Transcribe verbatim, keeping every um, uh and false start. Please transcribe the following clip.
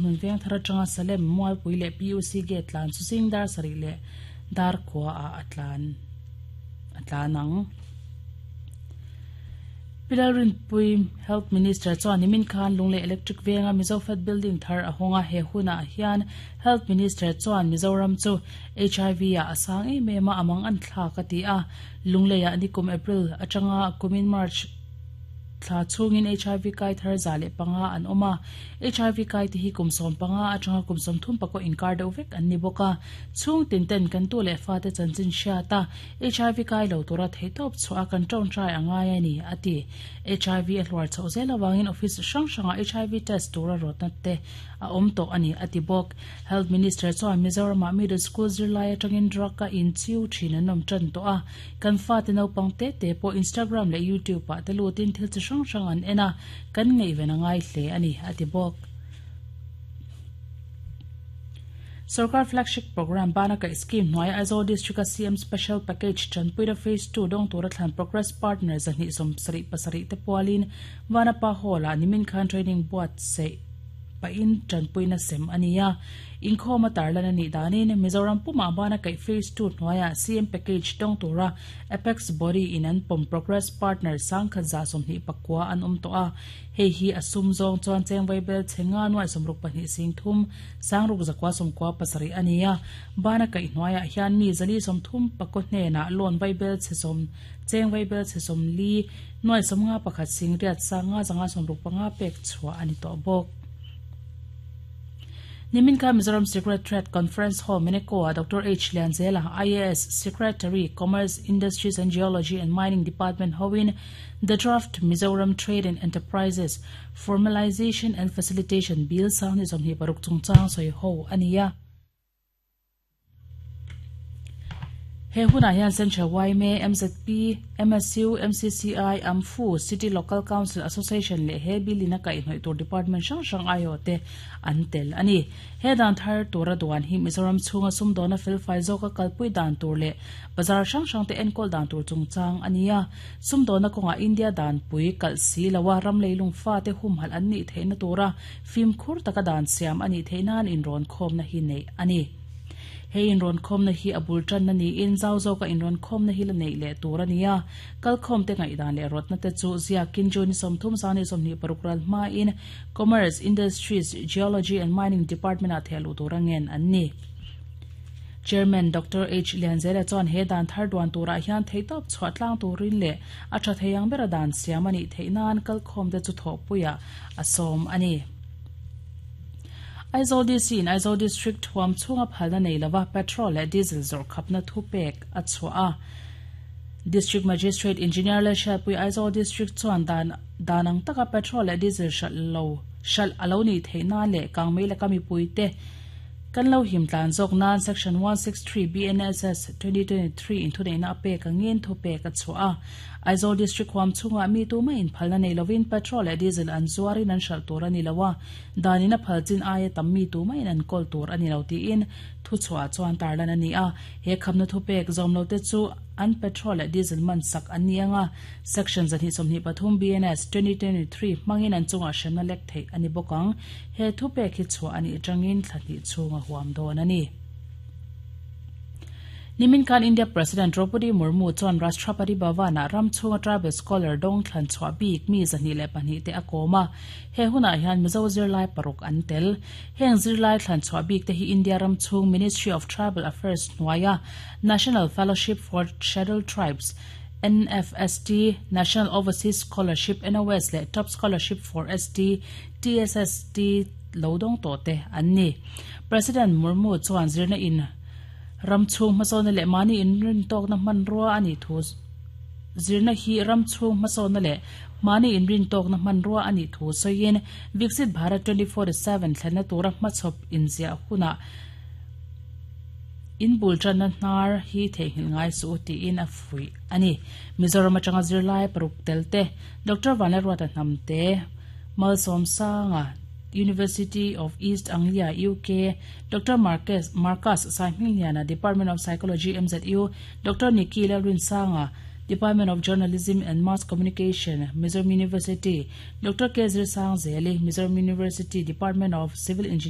Hmun Vengthar atanga Salem Mualpui leh P U C Gate tlan chu zing dar sarih leh dar khua ah a tlan a tlan ang. Pilalrinpui Health Minister chuan nimin khan Lunglei Electric Venga Mizofed Building thar a hawnga he hunah hian Health Minister chuan Mizoram chu H I V ah a sang em em a amang an thlak a ti a. Lunglei ah nikum April atanga kumin March thla chungin H I V kai thar za leh panga an awm a. H I V kai te hi kum sawm panga atanga kum sawm thum pakua inkar deuh vek an ni bawk a. Chhung tin ten kan tu leh fa te chanchin hriat a H I V kai lo tura theitawp chhuah a kan tawngtai a ngai a ni a ti. H I V a hluar chhoh zel awangin office hrang hrangah H I V test tura rawtna te a awm tawh a ni a ti bawk. Health Minister chuan Mizoramah middle school zirlai atangin drug a inchiu thin an awm tan tawh a. Kan fa te naupang te te pawh Instagram leh YouTube ah te lutin thil chi hrang hrang an en a kan ngaihven a ngai hle a ni a ti bawk. Sarkar flagship program bana kaih scheme hnuai Aizawl District a C M Special Package Chanpuina Phase two dawng tura thlan Progress Partner zahnih sawm sarih pasarih te pualin Vanapa Hall ah nimin khan training buatsaih pahin Chanpuina sem a ni a. Inkhawm a tarlan a nih danin Mizoram pumah bana kaih Phase two hnuaiah C M Package dawng tura Apex Body in an pawm Progress Partner sangkhat za sawmhnih pakua an awm tawh a. Hei hi a sum zawng chuan chengvai bel che nga nuai sawmruk pahnih sing thum sangruk zakua sawmkua pasarih a ni a. Bana kaih hnuaiah hian mi zali sawmthum pakua hnenah loan vai bel che sawm chengvai bel che sawmli nuai sawmnga pakhat sing riat sanga zanga sawmruk panga pek chhuah a ni tawh bawk. Nimin kha Mizoram Secret Trade Conference Hall Meneko a Doctor H Lianzela I A S Secretary Commerce Industries and Geology and Mining Department hoin the draft Mizoram Trade and Enterprises Formalization and Facilitation Bill sang ni sawmhnih paruk chungchang sawi ho a ni a. He hunah hian Central Y M A, M Z P, M S U, M C C I, A M F U, City Local Council Association leh he bill in a kaihhnawih tur department hrang hrang aiawh te an tel a ni. He dan thar tura duan hi Mizoram chhunga sumdawna felfai zawka kalpui dan tur leh bazar hrang hrang te enkawl dan tur chungchang a ni a. Sumdawna kawngah India dan pui kalh si loa ram leilung fa te humhalh an nih theihna tura fimkhur taka dan siam a nih theih nan inrawn khawmna hi neih a ni. Hei inrawn khawmna hi a bul tanna niin zau zawka inrawn khawmna hi la neih leh tur a ni a. Kal khawm te ngaihdan leh rawtna te chu ziakin June sawmthum sangni sawmhnih paruk ral hmain Commerce, Industries, Geology and Mining Department ah thehluh tur a ngen an ni. Chairman Doctor H Lianzela chuan he dan thar duan turah hian theitawp chhuah tlang turin leh a tha thei ang bera dan siam a nih theih nan kal khawm te chu thawhpuiah a sawm a ni. Aizawl D C in Aizawl District huam chhunga phalna nei lova petrol leh diesel zawrh khapna thu pek a chhuah a. District Magistrate Engineer Lalhriatpui Aizawl District chuan dan dan ang taka petrol leh diesel hralh lo hralh a lo nih theih nan leh kangmei laka mipui te kan lo him tlan zawk nan Section one six three B N S S twenty twenty three in thuneihna a pek angin thu pek a chhuah a. Aizawl District huam chhungah mi tu maiin phalna nei lovin petrol leh diesel an zuarin an hralh tur a ni lo a. Danin a phal chin aia tam mi tu maiin an kawl tur a ni lo tiin thu chhuah chuan tarlan a ni a. He khamna thu pek zawm lo te chu an petrol leh diesel man sak an ni anga. Section zahnih sawmhnih pathum B N S twenty twenty three hmangin an chungah hremna lek theih a ni bawk ang. He thu pek hi chhuah a nih atangin thla hnih chhunga huam dawn a ni. Nimin khan India President Draupadi Murmu chuan Rashtrapati Bhavan-ah ram chhunga tribal scholar dawng thlan chhuah bik mi zahnih leh pahnih te a kawm a. He hunah hian Mizo zirlai paruk an tel. Heng zirlai thlan chhuah bik te hi India ram chhung Ministry of Tribal Affairs hnuaia National Fellowship for Scheduled Tribes, N F S T, National Overseas Scholarship, N O S leh Top Scholarship for S T, T S S T lo dawng tawh te an ni. President Murmu chuan zirna in ram chhung hmasawna leh mahni inrin tawkna hmanrua a nih thu zirna hi ram chhung hmasawna leh mahni inrin tawkna hmanrua a nih thu sawiin Viksit Bharat twenty forty seven thlenna tura hmachhawp inziah hunah in bul tanna hnar hi theihnghilh ngai chu tiin a fuih a ni. Mizoram atanga zirlai paruk tel te Doctor Vanlalruata Hnamte Malsawm Sanga University of East Anglia U K Doctor Marcus Marcus Saihmingliana Department of Psychology M Z U Doctor Nikki Lalrinsanga Department of Journalism and Mass Communication, Mizoram University, Doctor K. Zirsangzeli, Mizoram University, Department of Civil Engineering.